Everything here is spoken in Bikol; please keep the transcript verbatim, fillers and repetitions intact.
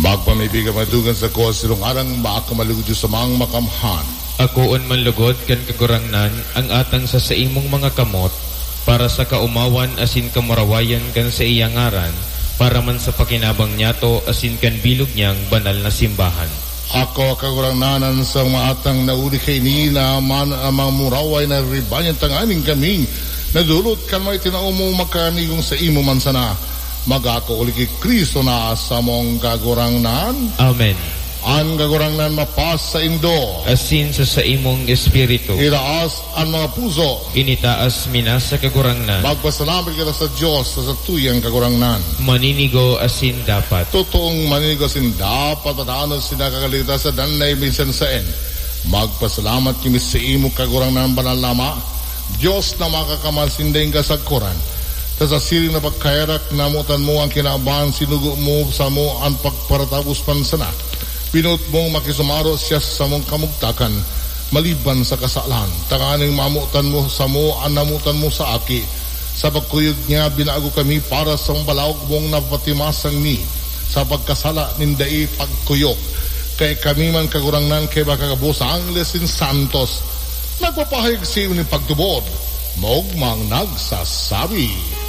Pagpamibi ka madugang sa ko, sirong arang baka malugod sa mga makamhan. Akoon man lugod kan Kagurangnan ang atang sa saimong mga kamot, para sa kaomawan asin kamurawayan kan sa iyang ngaran, para man sa pakinabang niyato asin kan bilog niyang banal na simbahan. Ako, Kagurangnan, an sa mga atang na uli kaini na man ang mga muraway na ribanyan tanganing kaming nadulot kan may tinao mo makanigong sa imo man sana. Magakauli ki Cristo na samong Kagurangnan. Amen. An Kagurangnan mapasaindo. Asin sa saimong espiritu. Itaas an mga puso. Initaas mi na sa Kagurangnan. Magpasalamat kita sa Dios sa satuyang Kagurangnan. Maninigo asin dapat. Totoong maninigo asin dapat, tatanos sinakakaligtas sa danay minsan saen. Magpasalamat kami sa imo, Kagurangnan, banal na Ama, Dios na makakamal sinda ing kasagkoran. Ta sa siring na pagkaherak, namotan mo ang kinaban, sinugo mo samo an pagparatapos man sana. Pinoot mong makisumaro siya sa samong kamugtakan, maliban sa kasalan. Tanganing mamotan mo samo an namotan mo sa Aki. Sa pagkuyog niya, binago kami para sa balawog mong napatimasang ni sa pagkasala nin dai pagkuyog. Kaya kami man, Kagurangnan, kaiba kagabos sa angles nin santos, nagpapahayag sa iyo nin pagtubod, maogmang nagsasabi.